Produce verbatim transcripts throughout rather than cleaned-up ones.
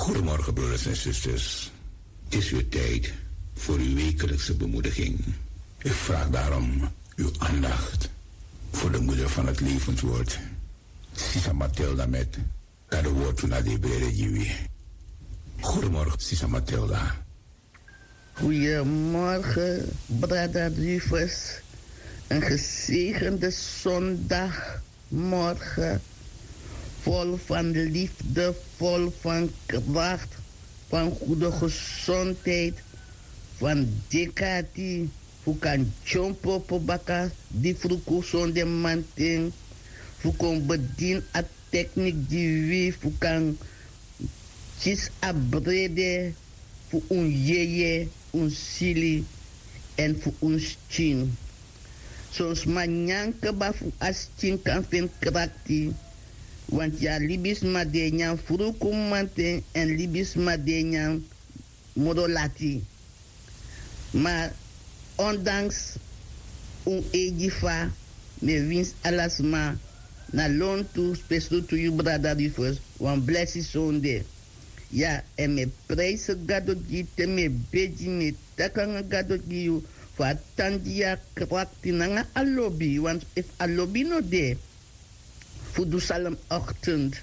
Goedemorgen, broeders en zusters. Het is weer tijd voor uw wekelijkse bemoediging. Ik vraag daarom uw aandacht voor de moeder van het levenswoord, Sisa Matilda met Gado Wortu na de Brede Jiwi. Goedemorgen, Sisa Matilda. Goedemorgen, brada Rufus. Een gezegende zondagmorgen. Vol van liefde, vol van kracht, van goede gezondheid, van dikati, fu kan tjompo baka di fruku sonde manten, fu kon bedin a techniek di wi fu kan kisi a brede fu un yeye, un sili èn fu un skin. Son sma nyan kba fu a skin kan feni krakti, want yu a libisma di e nyan fruku manten èn libisma di e nyan moro lati. Ma ondanks un eigi fa, mi e winsi ala sma na lontu, spesrutu yu brada Rufus, wan blesi sonde. Ya, èn mi e prijsi Gado gi yu, te mi e begi, mi e taki nanga Gado gi yu, fu a tan gi yu a krakti nanga a lobi, want efu a lobi no de fu du Psalm ochtend,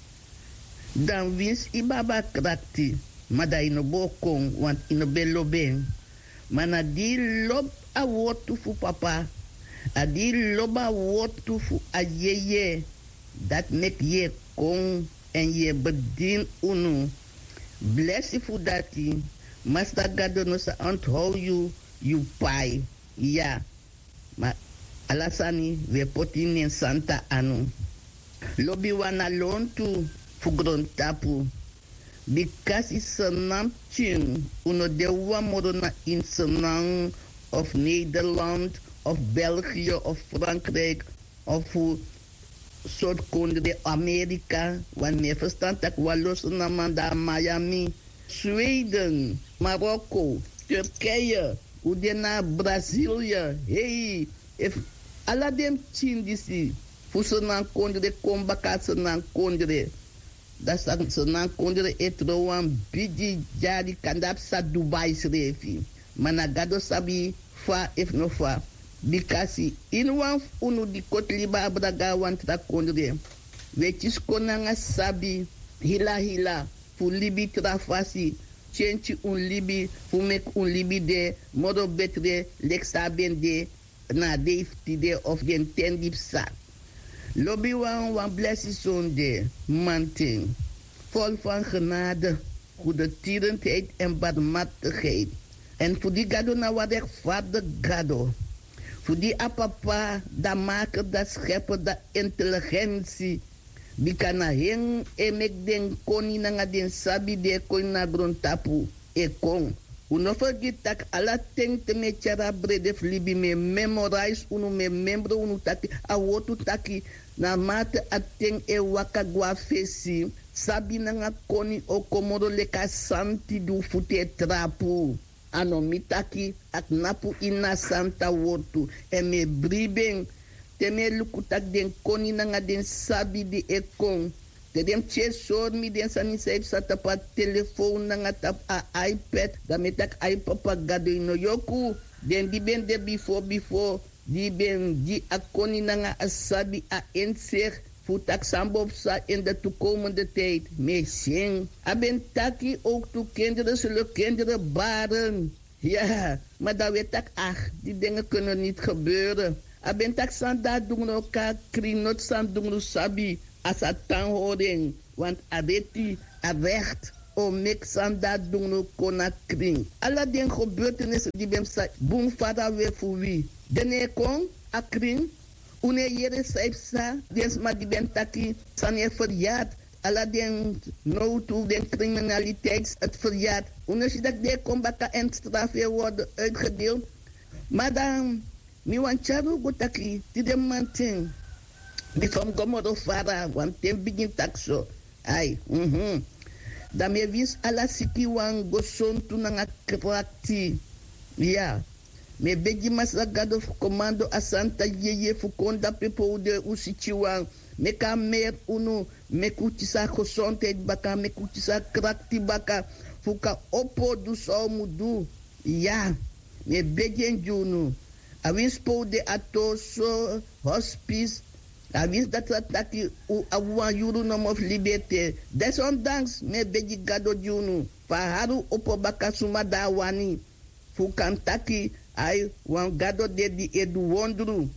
dan winsi yu ben abi a krakti, ma dan yu no bo kon, want yu no ben lobi en. Ma na di yu lobi a wortu fu papa, a di yu lobi a wortu fu a yeye, dati meki yu e kon èn yu e bedini unu. Blesi fu dati, Masra Gado no sa onthou yu, yu pai. Ya, ma ala sani wi e poti ini en santa anu. Lobiwan na lontu fu grontapu. Bikasi Sranan pikin, un no de wawan moro na ini Sranan of Nederland of België of Frankrijk of fu sortu kondre, Amerika, want mi e ferstan tak' wan lo Sranan man de na Miami, Sweden, Marokko, Turkije, un de na Brasilia. Hei, efu ala den pikin disi fu Sranan kondre kon baka na Sranan kondre, dan Sranan kondre e tron wan bigi dyari, kande a psa Dubai srefi. Ma na Gado sabi fa efu no fa. Bikasi iniwan fu unu di koti libi abra go na wan tra kondre, wi e kisi kon nanga sabi hila hila fu libi tra fasi, kenki un libi, fu meki un libi de moro betre leki san a ben de na a dei fu tide of den ten di psa. Lobiwan, wan blesi sonde, manten, vol van genade, goedertierenheid en barmhartigheid. Èn fu di Gado na wan rechtvaardige Gado. Fu di a papa, da maker, da schepper, da intelligentie. Bika na en e meki den koni nanga den sabi di e kon ini a grontapu e kon. Un no fergiti tak' ala ten te mi e tyari a brede fu libi, mi e memorize unu, mi e membro unu taki a wortu taki, naarmate a ten e waka go na fesi, sabi nanga koni o kon moro leki a santi di un futu e trapu. A no mi taki, a knapu ini a santa wortu. Èn mi e bribi en te mi e luku tak' den koni nanga den sabi di e kon, te den pikin e sori mi den sani san e psa tapu a telefown nanga tapu a iPad, dan mi e taki: Ai, Papa Gado, yu no yoku. Den di ben de bifo bifo, di ben gi a koni nanga a sabi, a inzicht fu taki san bo psa in de toekomende tijd, mi e si en. A ben taki ook tu kinderen zullen kinderen baren. Ya, ma dan wi e taki: ach, die dingen kunnen niet gebeuren. A ben taki san di a dungru o kon na krin, noti san dungru sabi, a sa tan hori en. Want a reti, a recht o meki san di a dungru kon na krin. Ala den gebeurtenissen di ben psa bun fara we fu wi, den no e kon a krin. Un no e yere san e psa, den sma di ben taki sani e verjaard, ala den nowtu, den criminaliteit, het verjaard. Un no si tak' den e kon baka èn straf e worden uitgedeeld. Maar dan, mi wani tyari un go taki, tide mamanten, bifo mi go moro fara, want te mi bigin taki so, ai, mhm. Dan mi e winsi ala sikiwan gesontu nanga krakti. Ya. Mi e begi Masra Gado fu komando a santa yeye fu kon dape pe un de, un sikiwan. Meki a meri unu, meki un kisi a gesondheid baka, meki un kisi a krakti baka, fu un kan opo du san un mu du. Ya, mi e begi en gi unu. A winsi pe un de a toso, hospis, a winsi dati sa taki un abi wan yuru nomo fu libi ete. Desondanks mi e begi gado gi unu, fu a hari un opo baka suma di a wani, fu un kan taki ai, wan gado de di e du wondru.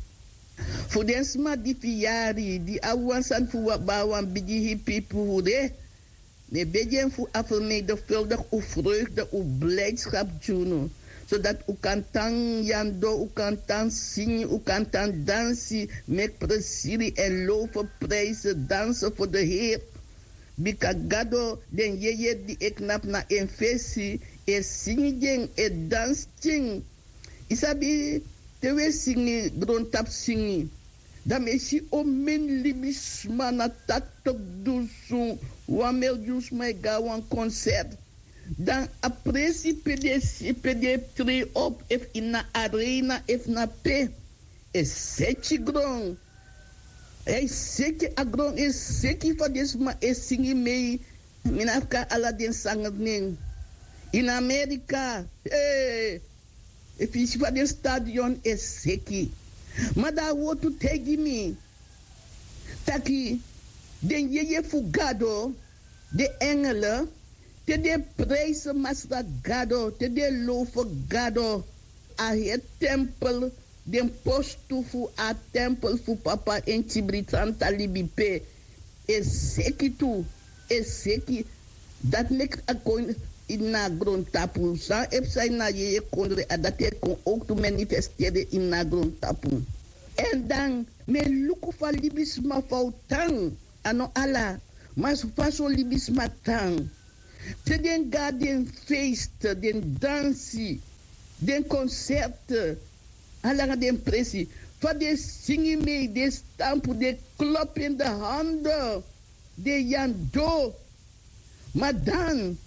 Fu den sma di fu yari di abi wan sani fu bari wan bigi hipi fu fu de, mi e begi en fu a fermenigvuldig un vreugde, un blijdskap gi unu, sodati un kan tan yando, un kan tan singi, un kan tan dansi, meki presiri èn low fu prijse, danse fu de heer. Bika gado, den yeye di e knapu na en fesi, e singi gi en, e dansi gi en. Yu sabi, te un e singi grontapu singi, dan mi e si omeni libisma na taktok dusun, wan milyun sma e go na wan konsert. Dan a presi pe den e si, pe den e trei op, efu ini a arena efu na pe, e seki gron. A e seki, a gron e seki, fa den sma e singi mei. Mi no abi kan ala den sangri nen. Ini Amerika, ee, efu yu si fa den stadion e seki. Ma dan a wortu taigi mi taki den yeye fu Gado, den engele, te den e prijsi Masra Gado, te den e low fu Gado, a heri tempel, den postu fu a tempel fu Papa ini kibri santa libi pe, e seki tu, e seki. Dati meki a kon ini a grontapu. San e psa ini a yeye kondre, a dati e kon owktu manifesteri ini a grontapu. Èn dan mi e luku fa libisma fu a o tan, a no ala, ma fa son libisma tan. Te den go na den feest, den dansi, den konsert, a langa den presi, fa den singi mei, den stampu, den klopu ini den hande, den yando. Ma dan,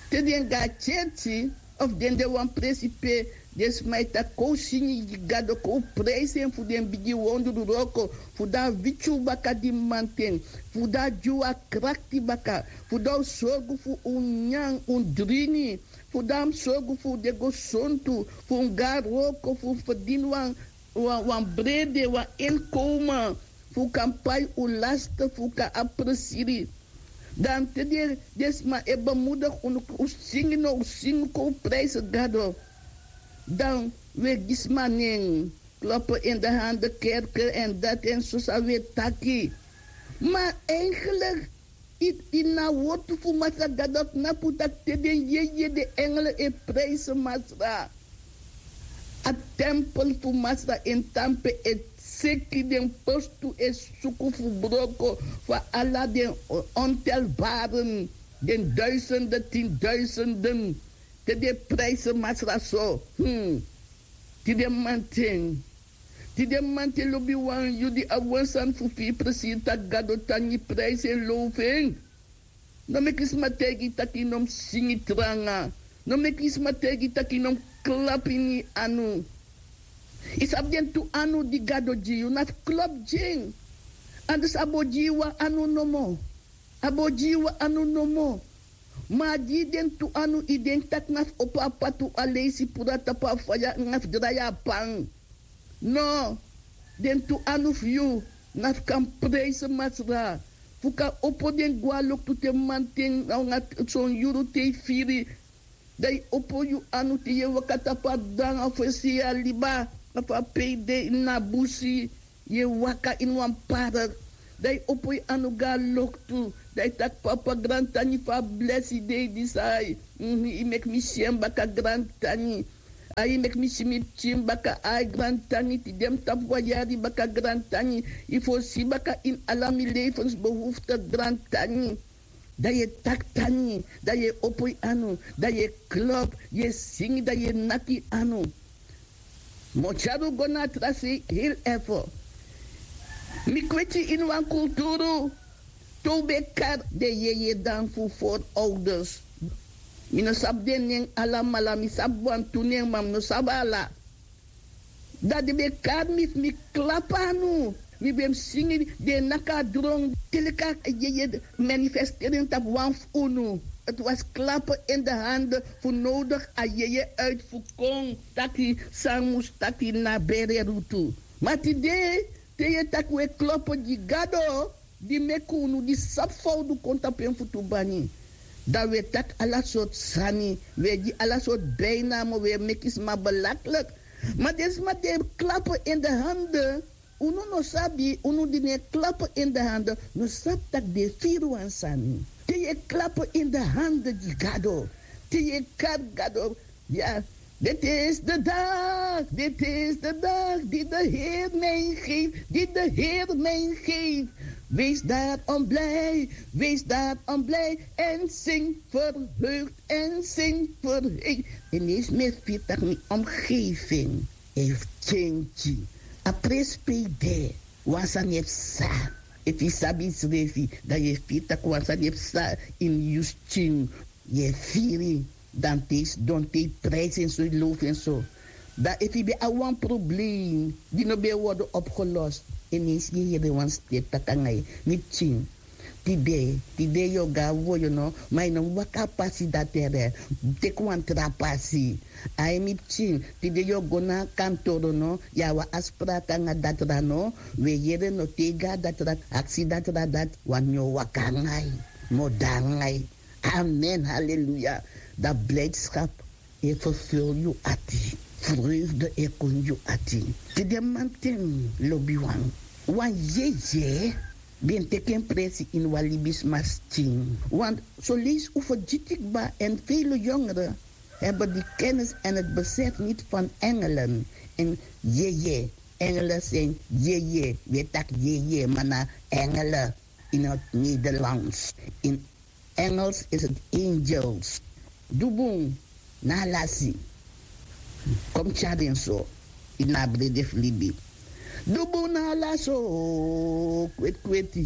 te den go na kerki, of den de wan presi pe den sma e taki kon singi gi Gado, kon prijsi en fu den bigi wondru wroko, fu den a witi un baka di mamanten, fu den a gi un a krakti baka, fu den a sorgu fu un nyan, un dringi, fu den a sorgu fu un de gesontu, fu un go na wroko, fu un ferdini wan, wan, wan brede, wan inkomen, fu un kan pai un lasti, fu un kan abi presiri. Dan te den, den sma e bemoedig unu, un singi now, un singi kon prijsi Gado. Dan un e gi sma nen, klopu ini den hande, kerki èn dati èn so san un e taki. Ma eigenlijk, i, ini a wortu fu Masra Gado knapu taki te den yeye, den engele e prijsi Masra. A tempel fu Masra en tampu e seki, den postu e suku fu broko, fu ala den o-, ontelbaren, den duizenden, tienduizenden, te den e prijsi Masra so. Hmm. Tide mamanten, tide mamanten lobiwan, yu di abi wan sani fu firi presiri, taki Gado tangi, prijsi en, low fu en. No meki sma taigi yu taki yu no mu singi tranga. No meki sma taigi yu taki yu no mu klapu ini yu anu. Yu sabi den tu anu di Gado gi yu, na fu klapu gi en. Anders a bo gi yu wan anu nomo. A bo gi yu wan anu nomo. Ma a gi yu den tu anu, yu denki taki na fu opo a patu, a leisi, puru a tapu a faya, na fu drai a pan. No, den tu anu fu yu na fu kan prijsi Masra, fu kan opo den gwe na loktu te mamanten, na anga son yuru te yu firi. Dan yu opo yu anu te yu e waka tapu a dan, a fesi yu e liba, na fu a pe yu de ini a busi, yu e waka ini wan park. Dan yu opo yu anu go na loktu, dan yu taki: Papa, grantangi fu a blesi dei disi. Ai, mhm, yu meki mi si en baka, grantangi. Ai, yu meki mi si mi pikin baka. Ai, grantangi, tide mi tapu wan yari baka, grantangi. Yu fosi baka ini ala mi levensbehoefte, grantangi. Dan yu e taki tangi, dan yu e opo yu anu, dan yu e klop, yu e singi, dan yu e naki anu. Mi o tyari un go na a tra sei heri efu. Mi kweti ini wan kulturu, te un ben kari den yeye dan fu voorouders. Mi no sabi den nen alamala, mi sabi wantu nen, ma mi no sabi ala. Dan den ben kari mi fu mi klapu anu. Mi ben mus singi den naki a dron. Te leki a yeye manifesteri en tapu wan fu unu. Ti wasi klapu en de hande fu nodigi a yeye uiti fu kon taki san mus taki na bere rutu. Ma tide te yu e taki un e klopu gi gado di meki unu di sabi fa un du kon tapu en futu bani, dan un e taki ala sortu sani, un e gi ala sortu beinamo, un e meki sma belaklik. Ma den sma di e klapu en de hande, unu no sabi, unu di no e klapu en de hande no sabi tak' den e firi wan sani. Te yu e klapu en de hande gi gado, te yu e kari gado. Ya. Dit is de dag, dit is de dag die de Heer mij geeft, die de Heer mij geeft. Wees daarom blij, wees daarom blij en zing verheugd en zing verheugd. En is mi e firi tak' mi omgeving e fu kenki. A presi pe yu de, wan sani e psa. Efu yu sabi yusrefi, dan yu e firi tak' wan sani e psa ini yu skin. Yu e firi, dan te yu sidon, te yu prijsi en so, yu lofu en so. Dan efu yu ben abi wan problem di no ben e wordu opgelost, en yu e yere wan ster taki nanga yu, mi pikin, tide, tide yu o go na woyo no, ma yu no mus waka a pasi dati ere. Teki wan tra pasi. Ai mi pikin, tide yu o go na a kantoro no, yu abi wan afspraak nanga datra no. Un e yere no, te yu go na datra, aksi datra dati wani yu o waka nanga yu, mus de nanga yu. Amen, haleluya. Dan blijdschap e vervul yu ati, vreugde e kon yu ati. Tide mamanten, lobiwan, wan yeye ben teki en presi ini wan libisma skin. Want zo lees un fu gi kba en vele jongeren hebben die kennis en het besef niet van engelen. En yeye, engelen zijn yeye, we taki yeye, ma na engelen in het Nederlands. In Engels is het angels. Du bun, na lasi. Kon tyari en so ini a brede fu libi. Du bun na lasi o, kweti kweti.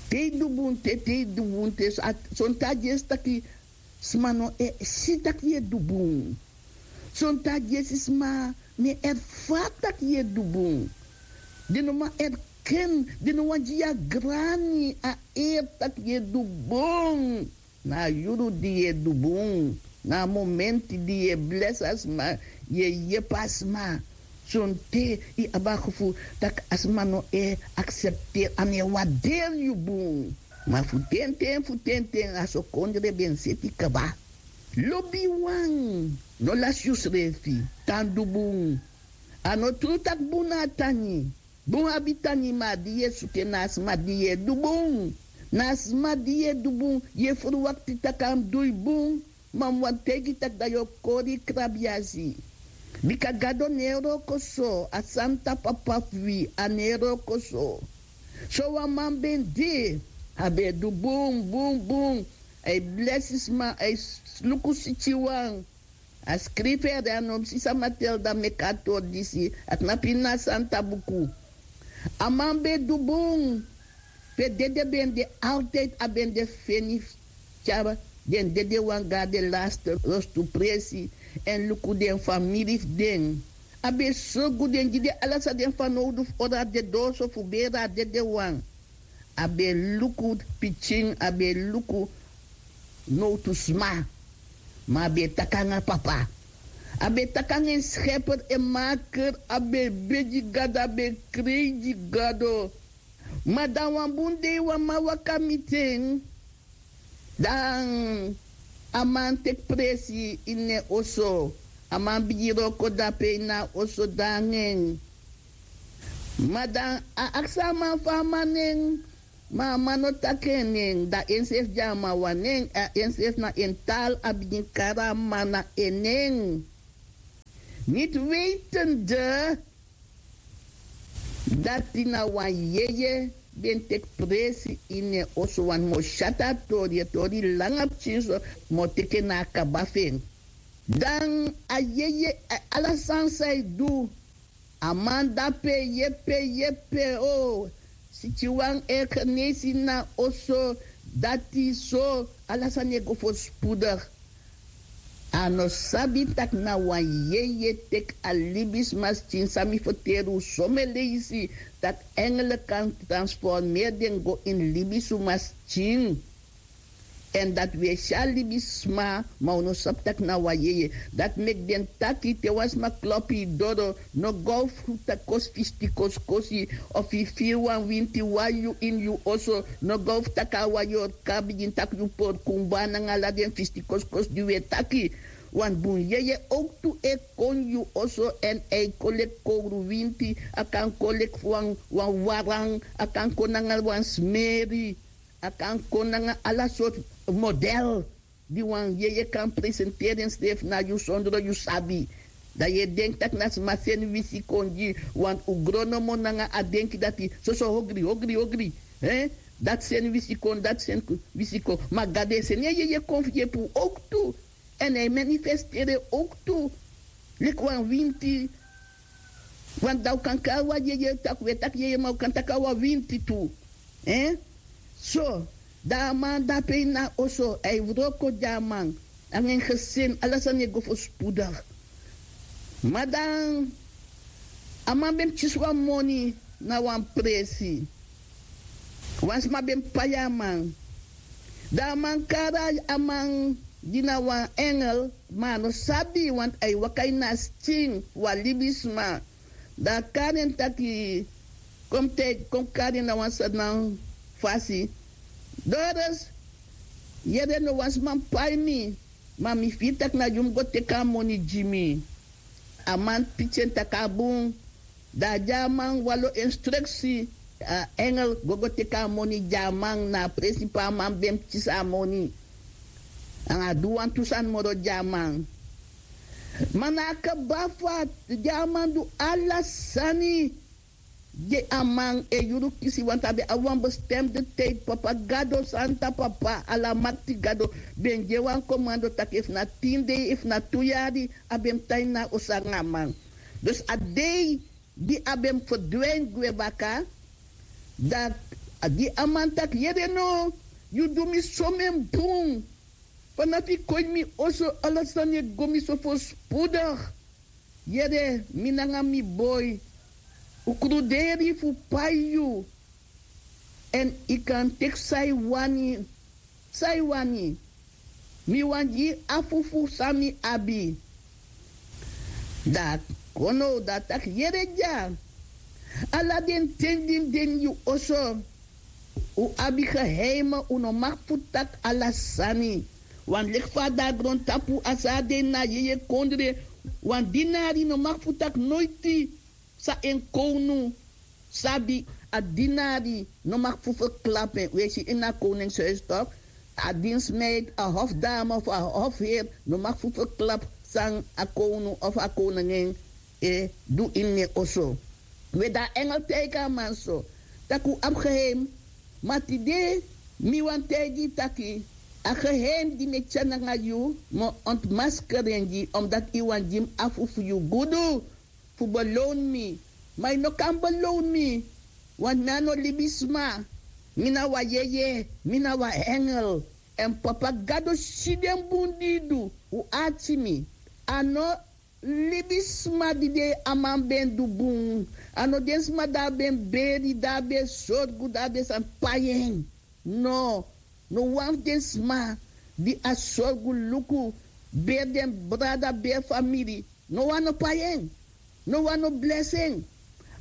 Te yu du bun te, te yu du bun te, son, son ten a dyesi taki sma no e si tak' yu e du bun. Son ten a dyesi sma no e erfari tak' yu e du bun. Den no man erken, den no wani gi yu a grani, a eri tak' yu e du bun. Na a yuru di yu e du bun, na a momenti di yu e blesi a sma, yu e yepi a sma. Sonten yu abi a gevoel tak' a sma no e aksepteri, a no e warderi yu bun. Ma fu tenten, fu tenten a so kondre ben seti kaba. Lobiwan, no lasi yusrefi, tan du bun. A no tru tak' bun na a tani. Bun abi tani, ma a di yu e suku en na a sma di yu e du bun. Na a sma di yu e du bun, yu e ferwakti tak' a mus du yu bun. Ma mi wani taigi yu tak' dan yu o kori krabiasi. Bika Gado no e wroko so, a santa Papa fu wi, a no e wroko so. Sowan man ben de, a ben e du bun bun bun. A e blesi sma, a e luku sitiwan. A skrifi ede, a no mus si sama telde meki a tori disi, a knapu ini a santa buku. A man ben e du bun. Pe dede ben de, altijd a ben de feni fu tyari den dedewan go na den laste lostu presi, èn luku den famiri fu den. A ben e sorgu den, gi den ala san den fanowdu fu hori a dedoso fu beri a dedewan. A ben e luku pikin, a ben e luku nowtu sma. Ma a ben e taki nanga Papa. A ben e taki nanga en Scheper en Maker, a ben e begi Gado, a ben e krei gi Gado. Ma dan wan bun dei wan man waka miti en. Dan a man teki presi ini en oso. A man bigin wroko dape ini a oso, dan nanga en. Ma dan a aksi a man fu a man nen, ma a man no taki en nen. Dan ensrefi gi a man wan nen, a ensrefi na en taal a bigin kari a man na en nen. Niet wetende dati na wan yeye ben teki presi ini en oso, want mi o si a tori, a tori langa pikinso, mi o teki en na a kaba fu en. Dan a yeye, a, ala sani san a e du, a man dape yepe yepe o. Sitiwan e genesi na oso, dati so, ala sani e go voorspoedig. A no sabi tak' na wan yeye teki a libisma skin san mi ferteri un someni leisi, tak' engele kan transformeri den go ini libisma skin. Èn dati wi e si a libisma, ma un no sabi tak' na wan yeye. Dati meki den taki te wan sma klopu yu doro, no go fu taki kosi fisti kosikosi, of yu firi wan winti wari yu ini yu oso, no go fu taki a wari yu o kan bigin taki yu porkumba nanga ala den fisti kosikosi di wi e taki. Wan bun yeye owktu e kon yu oso èn a e kon leki kowru winti, a kan kon leki wan waran, a kan kon nanga wan smeri, a kan kon nanga ala sortu model di wan yeye kan presenteri ensrefi na yu sondro yu sabi. Dan yu e denki tak' na sma seni wisi kon gi yu, want un gron nomo nanga a denki dati soso ogri ogri ogri. Dati seni wisi kon, dati seni wisi kon. Ma gado e seni en yeye kon fu yepi un owktu. Èn a e manifesteri en owktu leki wan winti. Want dan un kan kari wan yeye tak' un e taki yeye, ma un kan taki a wan winti tu. So, dan a man dape ini a oso, a e wroko gi a man nanga en gesin, ala sani e go fospudigi. Ma dan a man ben mus kisi wan moni na wan presi. Wan sma ben pai a man. Dan a man kari a man gi na wan engel, ma a no sabi, want a e waka ini a skin fu wan libisma. Dan a kari en taki, kon mi taigi, kon mi kari en na wan srdan fasi. Doris, yere, no wan sma pai mi, ma mi firi tak' na yu mus go teki a moni gi mi. A man piki en taki a bun. Dan a gi a man wan lo instruksi. A engel go go teki a moni gi a man na a presi pe a man ben mus kisi a moni. Nanga a du wantu sani moro gi a man. Ma na a kaba fu a gi a man du ala sani gi a man e yuru kisi, want a ben abi wan bestemde tide. Papa gado, santa papa alamakti gado, ben gi en wan komando tak' efu na tin dei efu na tu yari a ben mus tan ini a oso nanga a man. Dus a dei di a ben mus ferdwin gwe baka, dan a gi a man taki yere no, yu du mi someni bun. Fanafu yu kon ini mi oso ala sani e go mi so fospudigi. Yere, mi nanga mi boi un kruderi fu pai yu. Èn yu kan teki san yu wani. San yu wani? Mi wani gi yu afu fu san mi abi. Dan a kon now dan a taki yere dya. Ala den ten di mi de ini yu oso, un abi geheime, un no mag fu taki ala sani. Wan leki fa a de na grontapu, a san a de ini a yeye kondre. Wan dinari no mag fu taki noiti san en kownu sabi. A dinari no mag fu ferklapu en. Un e si ini a koningshuis tok, a dinsmeid, a hofdame of a hofheer no mag fu ferklapu san a kownu of a koningen e du ini en oso. We dan a engel taigi a man so, tak' un abi geheim. Ma tide mi wani taigi yu taki a geheim di mi e tyari nanga yu, mi o ontmaskeri en gi yu, omdati yu wani gi mi afu fu yu gudu fu belown mi. Ma yu no kan belown mi, want mi a no libisma. Mi na wan yeye, mi na wan engel. Èn papa gado si den bun di yu du. Un ati mi. A no libisma di de a man ben du bun. A no den sma di a ben beri, di a ben sorgu, di a ben sani pai en. No. No wan fu den sma di a sorgu, luku, beri den brada, beri famiri, no wan no pai en. No wan no blesi en.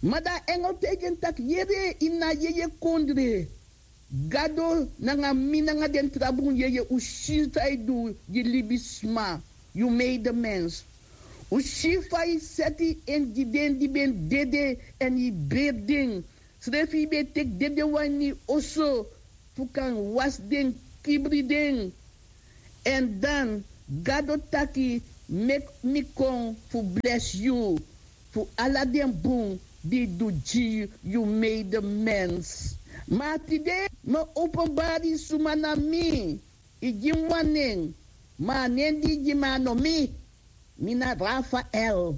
Ma dan a engel taigi en taki yere, ini a yeye kondre, gado nanga mi nanga den tra bun yeye, un si san yu du gi libisma, yu meidemens. Un si fa yu seti en gi den di ben dede èn yu beri den. Srefi yu ben teki dedewan ini yu oso fu kan wasi den, kibri den. Èn dan gado taki meki mi kon fu blesi yu fu ala den bun di yu du gi yu meidemens. Ma tide mi o openbari suma na mi. Yu gi mi wan nen, ma a nen di yu gi mi a no mi. Mi na Rafael.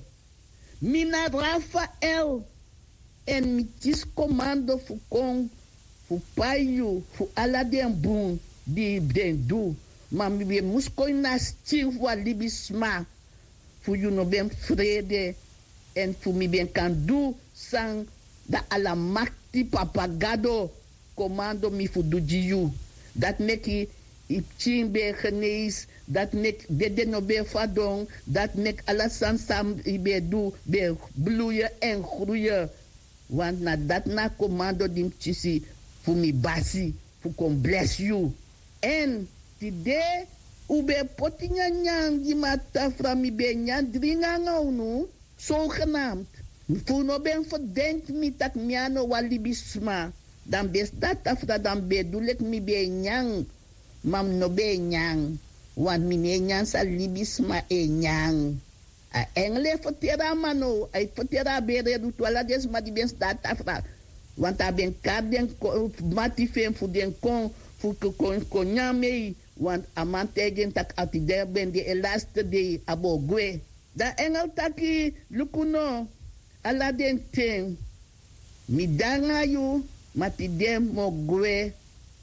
Mi na Rafael. Èn mi kisi komando fu kon fu pai yu fu ala den bun di yu ben du. Ma mi ben mus kon ini a skin fu wan libisma, fu yu no ben frede, èn fu mi ben kan du san dan alamakti papa gado komando mi fu du gi yu. Dati meki yu pikin ben e geneisi, dati meki dede no ben e fadon, dati meki ala sani san yu ben e du ben e bluye èn gruye. Want na dati na a komando di mi kisi fu mi basi, fu kon blesi yu. Èn tide un ben e poti nyanyan gi mi na tafra, mi ben e nyan dringi nanga unu, sogenamd. Fu un no ben ferdenki mi tak' mi a no wan libisma, dan mi ben sidon na tafra, dan mi ben e du leki mi ben e nyan. Ma mi no ben e nyan, want mi no e nyan san libisma e nyan. A engel e ferteri a man now, a e ferteri a bere rutu ala den sma di ben sidon na tafra. Want a ben kari den mati fu en fu den kon, fu kon nyan mei. Want a man taigi en tak' a tide ben de en laste dei, a bo gwe. Dan a engel taki: Luku no, ala den ten mi de nanga yu, ma tide mi o gwe,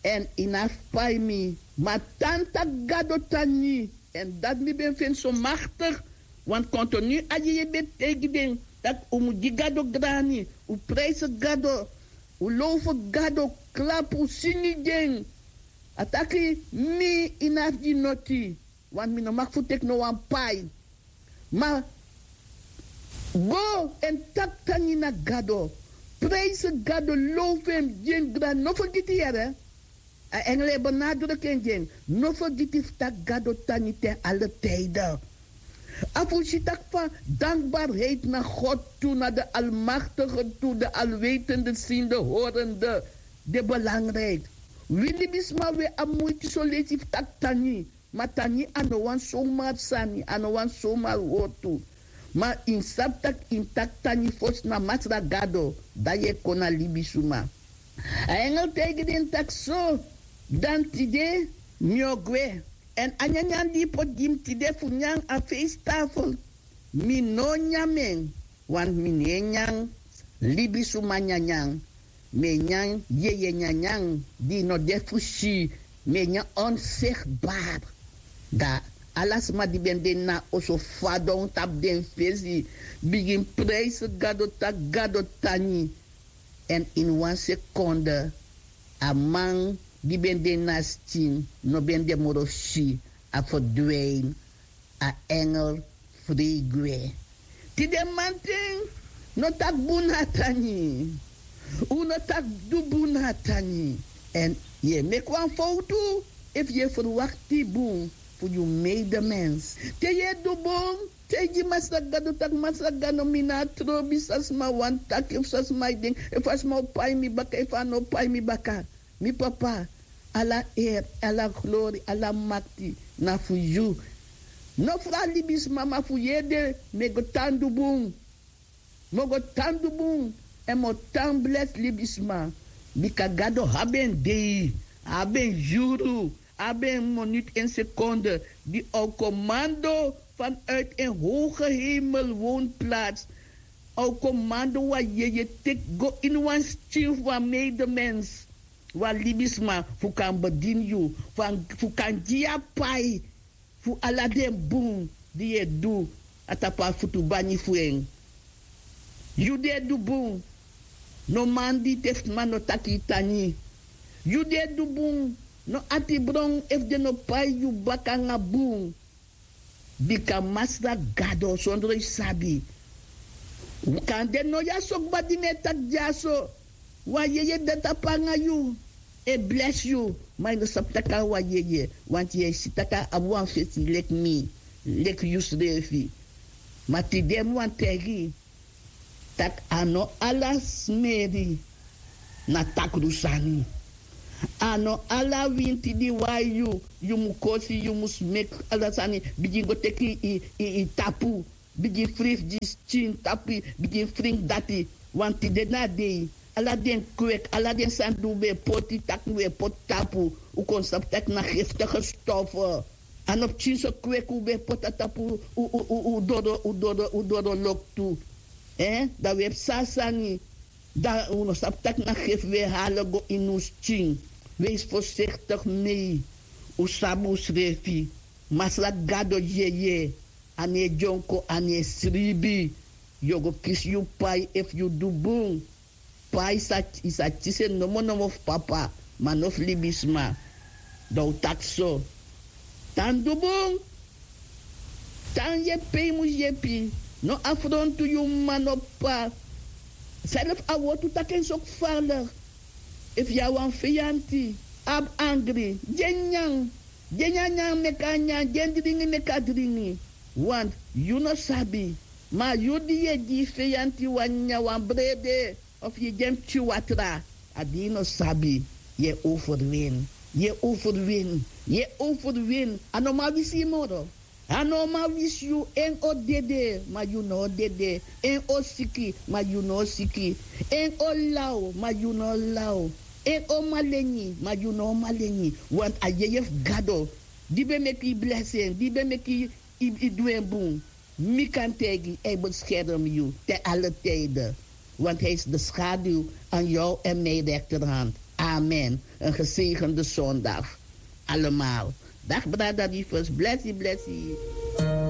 èn yu no abi pai mi. Ma tan taki Gado tan nyan. Èn dati mi ben feni so maktik. Want kontinu a yeye ben taigi den tak' un mu gi Gado grani, un prijsi Gado, un lowfu Gado, klapu, singi gi en. A taki: Mi, yu no abi gi noti, want mi no mag fu teki no wan pai. Ma go èn taki tan nyan na Gado, prijsi Gado, lowfu en, gi en grani, no fergiti, yere. A engel e benadruku en gi en: No fergiti fu taki Gado tan nyan ten ala tijden. A fu si tak' fa dankbaarheid na God tu, na de Almachtige tu, de Alwetende, Ziende, Horende, de belangrijk. Wi libisma, wi e abi muiti son leisi fu taki tan nyan. Ma tan nyan a no wan somar sani, a no wan somar wortu. Ma yu mus sabi tak' yu mus taki tan nyan fosi na Masra Gado, dan yu e kon na libisuma. A engel taigi den taki: So, dan tide mi o gwe. Èn a nyanyan di yu poti gi mi tide fu nyan a feesttafel, mi no o nyan en, want mi no e nyan libisuma nyanyan. Mi e nyan yeye nyanyan di no de fu si, mi e nyan onzichtbaar. Dan ala sma di ben de na oso fadon tapu den fesi, bigin prijsi Gado, taki Gado tan nyan. Èn ini wan sekonde a man di ben de na skin no ben de moro fu si, a ferdwijn. A engel frei gwe. Tide manten, no taki bun na a tan nyan. Un no taki du bun na a tan nyan. Èn yu e meki wan fowtu efu yu e ferwakti bun fu yu medemens. Te yu e du bun, taigi Masra Gado tak' Masra Gado, mi no abi trobi san sma wani taki, efu san sma e denki, efu a sma o pai mi baka, efu a no o pai mi baka. Mi Papa, ala eri, ala glori, ala makti na fu yu. No fu a libisma, ma fu yu ede mi e go tan du bun. Mi o go tan du bun, èn mi o tan blesi libisma. Bika Gado abi en dei, a abi en yuru, a abi en minuut, en sekonde, di a o komando vanuit en hoge hemel woonplaats. A o komando wan yeye teki go ini wan skin fu wan medemens, wan libisma, fu kan bedini yu, fu kan gi yu a pai fu ala den bun di yu e du na tapu a futubangi fu en. Yu di e du bun, no mandi te sma no taki yu tan nyan. Yu di e du bun, no ati bron efu den no pai yu baka nanga bun. Bika Masra Gado, sondro yu sabi. Kande no yu a so kba di mi e taki dyaso. Wan yeye de tapu nanga yu, e blesi yu, ma yu no sabi tak' a wan yeye, want yu e si tak' a abi wan fesi leki mi, leki yusrefi. Ma tide mi wani taigi yu tak' a no ala smeri na takru sani. A no ala winti di wai yu, yu mu kosi, yu mu smeki, ala sani, bigin go teki yu, yu, yu tapu, bigin fringi gi skin tapu, bigin fringi dati. Want tide na a dei, ala den kwek, ala den sani di un ben e poti tak' un e poti tapu, un kon sabi tak' na giftige stofu. A no pikinso kwek un ben e poti na tapu un, un, un, un doro, un doro, un doro loktu. Eh, dan un e psa sani. Dan un no sabi tak' na gif un e hali go ini un skin. Wees voorzichtig mee. Un sabi unsrefi. Masra gado, yeye. A no e dyonko, a no e sribi. Yu o go kisi yu pai efu yu du bun. Pai sa, yu sa kisi en nomo nomo fu papa, ma no fu libisma. Dan un taki so. Tan du bun. Tan yepi pe yu mus yepi. No afrontu yu mama, no p'pa. Srefi a wortu taki en so kfalek. Efu yu na wan feyanti, abi angri, gi en nyanyan. Gi en nyanyan meki a nyanyan, gi en dringi meki a dringi. Want yu no sabi. Ma yu di yu e gi yu feyanti wan nyanyan, wan brede, of yu e gi en pikin watra, a di yu no sabi. Yu e overwin. Yu e overwin. Yu e overwin. A no man wisi yu moro. A no man wisi yu. En o dede, ma yu no o dede. En o siki, ma yu no o siki. En o law, ma yu no o law. En o malengri, ma yu no o malengri. Want a yeye fu gado, di ben meki yu blesi en, di ben meki yu, yu du en bun, mi kan taigi, hij beskerm yu te alle tijden. Want hij is de schaduw aan jou en mijn rechterhand. Amen. Een gezegende zondag. Allemaal. Dag brada Rivers. Blessi, blessi.